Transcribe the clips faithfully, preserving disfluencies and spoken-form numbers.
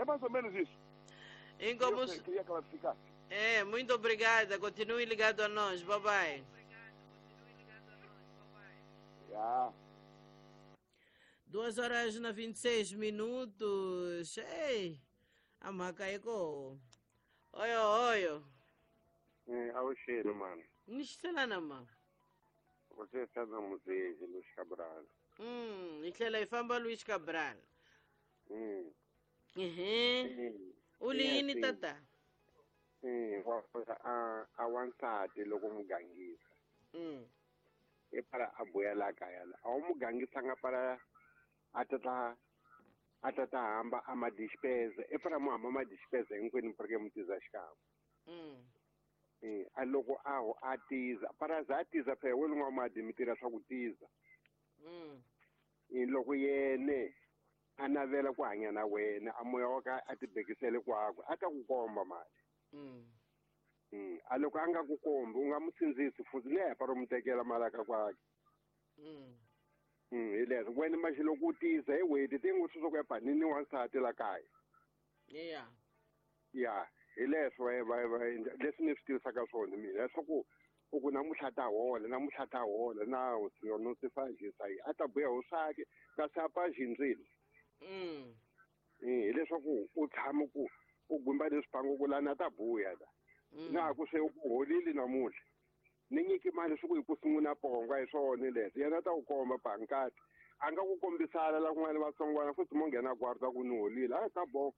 É mais ou menos isso. Inkomu... Eu queria clarificar. É, muito obrigada. Continue ligado a nós. Bye bye. Yeah. Duas horas na vinte e seis minutos. Ei, a maca é com. Oio, oio. É, ao cheiro, mano. Nistelana, mano. Você está no museu de Luiz Cabral. Hum, e ela é famba Luiz Cabral. Hum. Uhum. Ulini tata. Sim, a a wansati loko mugangisa. Hum. E para a boela kaya. A mugangisa nga para atata atata hamba ama despesa. E para mo ama despesa hinkwenu porque mutiza xikama. Hum. Eh, a loko a ho a tiza para za tiza phela we lunga ma dimitira swa ku tiza. Mm. E loko yene a navela ku hanya na wena a moya wa ka a tibekisele kwakwe a ta ku komba mali. Mm. Mm. A loko a nga ku kombi u nga mu sindzisi futhi ne para mu tekela mali ka kwakhe. Mm. Mm, hi leswo wena maxi loko u tiza hi weti ti ngo swi ku ya panini wansati la kaya. Yeah. Yeah. Hi leswo va va leswi ni swi tivisaka swona mina leswaku u ku namuntlha ta hola namuntlha ta hola na no se fajisa a ta buya ho swake kasi a pa xindzile. Mm. Eh, hileswaku u tshama ku u gumba leswipango ku lana ta buya la. Na ku se u holile namuntlha. Ni nyiki mali swi ku hi ku sungula pongo hi swona leswi yena ta ku komba bankati a nga ku kombisana la kun'wana vatsongwana futhi mo nghena kwarta ku ni holile a ta bo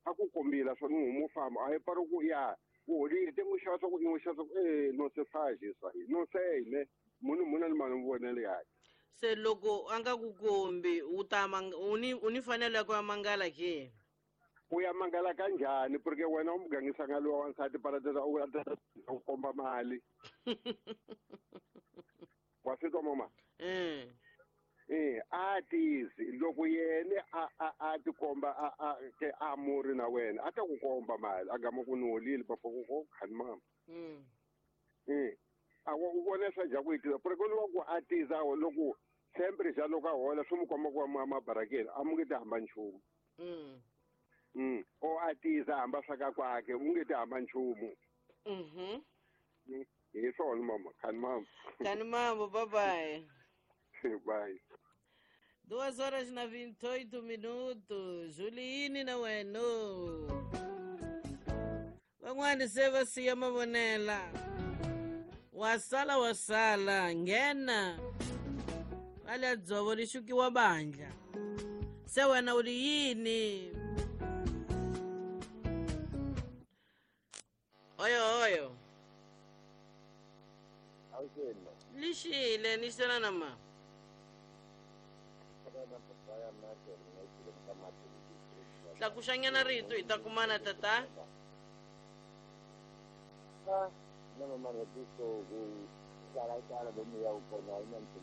a ku kombila swona u humu famba a hi pari ku ya u holile te n'wi xava swa ku i n'wi xava swa ku e no se fajisa no se ne munhu munhu ni mali vonele yakhe. Se loko a nga ku kombi u ta u ni u ni fanele ku ya mangala ke? U ya mangala kanjhani porque wena u mugangisanga luwa wansati para tata u u komba mali. Wa swi twa mama? Mm. Eh, a tizi loko yene a a a tikomba a a ke a muri na wena a ta ku komba mali a gama ku ni holile papa ku ko khani mama. Mm. Eh, a wa u vona swa ja ku itiza porque loko ku a tiza loko sempre ja loko a hola swi mu komba ku wa mabarakeni a mu nge ti hamba nchumu. Mm. Mm. O a tiza hamba swa ka kwakhe u nge ti hamba nchumu. Mhm. Hi swona mama, khani mama. Khani mama, bye bye. Bye. Duas horas na vinte e oito minutos. Juliane na weno. Van'wani se va siya mavonela. Wasala wasala nghena. Vale dzovo ri xukiwa bandla. Se wena u ri yini? Oyo oyo. Lixile ni xana na ma. Tlakuxanyana rito hi ta kumana tata. Ah, no mama